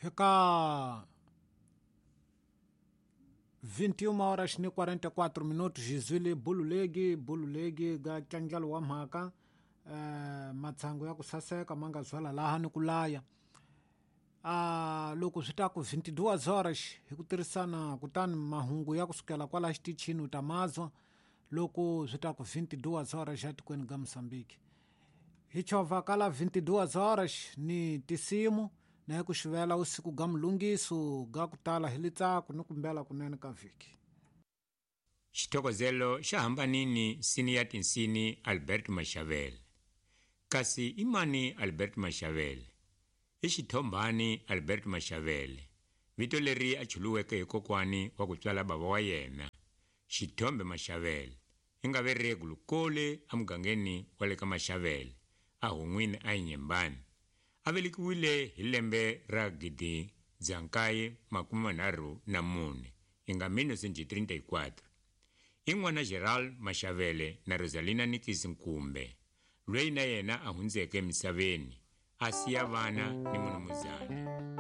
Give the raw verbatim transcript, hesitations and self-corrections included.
Eka vinte e uma horas ni quarenta e quatro minutos jizwile bululegi bululegi ga tlangjalo wa mhaka eh, matsangu ya ku saseka ma nga zwala laha ni ku laya ah, loko swi ta ku vinte e duas horas hi ku tirhisana kutani mahungu ya kusukela kwala xitichini u ta mazwa loko swi ta ku vinte e duas horas etikweni ga Mozambique hi chovha kala vinte e duas horas ni tisimu na hi ku xivela usiku ga mulungiso ga ku tala hi litsako ni kumbela kunene ka vhiki. Xithokozelo xa hambanini nsini ya tinsini Albert Mashavele. Kasi i mani Albert Mashavele? I xithombhani Albert Mashavele, vito leri a chuluweke hi kokwani wa ku tswala bava wa yena, Xithombe Mashavele, i nga ve Gulukole emugangeni wa le ka Mashavele, a Hun'wini a Inhembane. A velekiwile hi lembe ra gidi dzankaye makume manharhu na mune, i nga mil novecentos e trinta e quatro. I n'wana Gerald Mashavele na Rosalina Nikisi Nkumbe, loyi na yena a hundzeke emisaveni, a siya vana ni munumuzana.